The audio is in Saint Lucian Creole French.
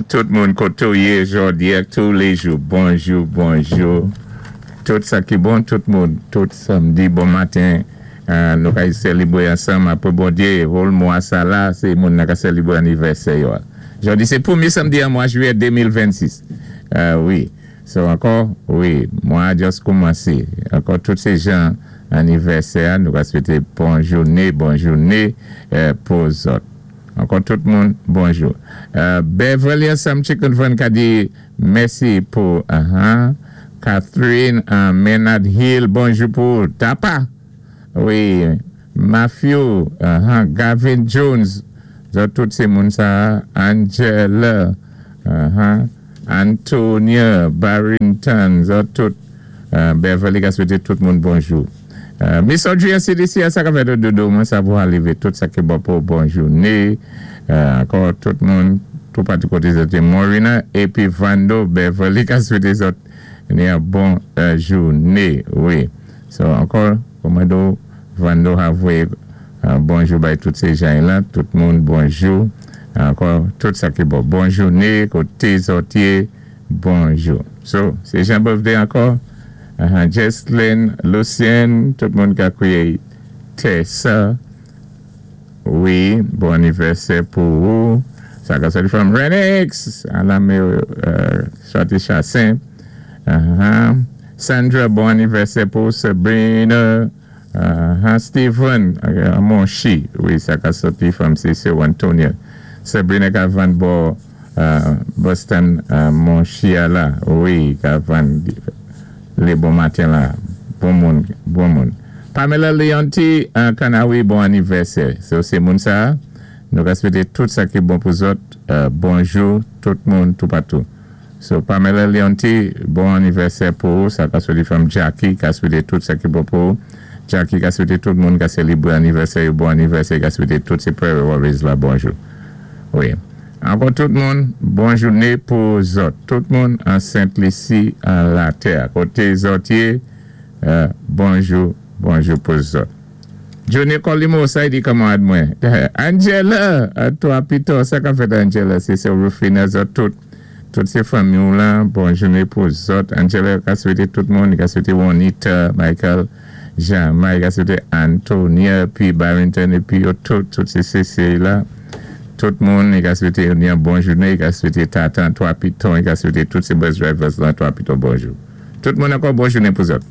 Tout moun koté ou yé jòdi-a, touléjou. Bonjou, bonjou. Tout sa ki bon, tout moun, tout samdi, bon maten. Nou ka sélébwé ansanm apwé Bondyé, whole mwa sa la, sé moun nan ka sélébwé anivèsè yo. Jòdi sé pwémyé samdi an mwa jwiyè 2026. Wi. So ankò, wi, mwa just koumansé. Ankò tout sé jan anivèsè, nou ka swété bon jouné, bon jouné pou zòt. Ankò tout moun, bonjou. Beverly ansanm Chicken Van ka di mèsi pou Catherine Menard Hill, bonjou pou Tapa. Wi, Matthew, Gavin Jones, zòt tout sé moun sa, Angela, Antonia Barrington, zòt tout, Beverly ka swété tout moun bonjou. Miss Audrey CDC, sa ka fèt dodo, mwen sa pou arivé tout sa ki bon pou bon jouné. Ankò tout moun, tout patou koté zòt Morina épi Vando Beverly ka swété zòt ni yon bon jouné. Wi. So ankò, kòmando Vando a voyé bonjou bay tout sé jan la, tout moun bonjou. Ankò tout sa ki bon. Bon jouné, koté zòt yé, bonjou. So, sé jan birthday ankò. Jesslyn, Lucien, tout moun ka kwiyé Tessa. Wi, bon anivèsè pou ou. Sa ka sòti from Renix. Alame sòti Chassin. Sandra, bon anivèsè pou Sabrina. Steven, Monchi. Wi, sa ka sòti from Cecil Antonio. Sabrina ka vann bò Boston Monchi a la. Wi, ka vann lé bon maten la. Bon moun, bon moun. Pamela Leonti, Kanawi, bon anivèsè. So, sé moun sa, nou ka swété tout sa ki bon pou zòt. Bonjou, tout moun, tout patou. So, Pamela Leonti, bon anivèsè pou ou. Sa ka swété from Jackie, ka swété tout sa ki bon pou ou. Jackie ka swété tout moun ka sélébwé anivèsè, bon anivèsè, ka swété tout sé Prairie Warriors la, bonjou. Wi. Ankò tout moun, bon jouné pou zòt. Tout moun an Sent Lisi, an latè. Koté zòt yé, bonjou, bonjou pou zòt. Johnny Colimo, sa di kanmarad mwen. Angela, toi pito, sa ka fèt Angela, sé sé Rufina zòt tout. Tout sé fanmi ou la, bon jouné pou zòt. Angela ka swété tout moun, ka swété Juanita, Michael, Jean, Mike, ka swété Antonia, pi Barrington, épi yo tout, tout sé CC la. Tout moun, i ka swété yon bon jouné, i ka swété Tatan, toi Piton, i ka swété tout sé bus drivers la, toi Piton, bonjou. Tout moun ankò bon jouné pou zòt.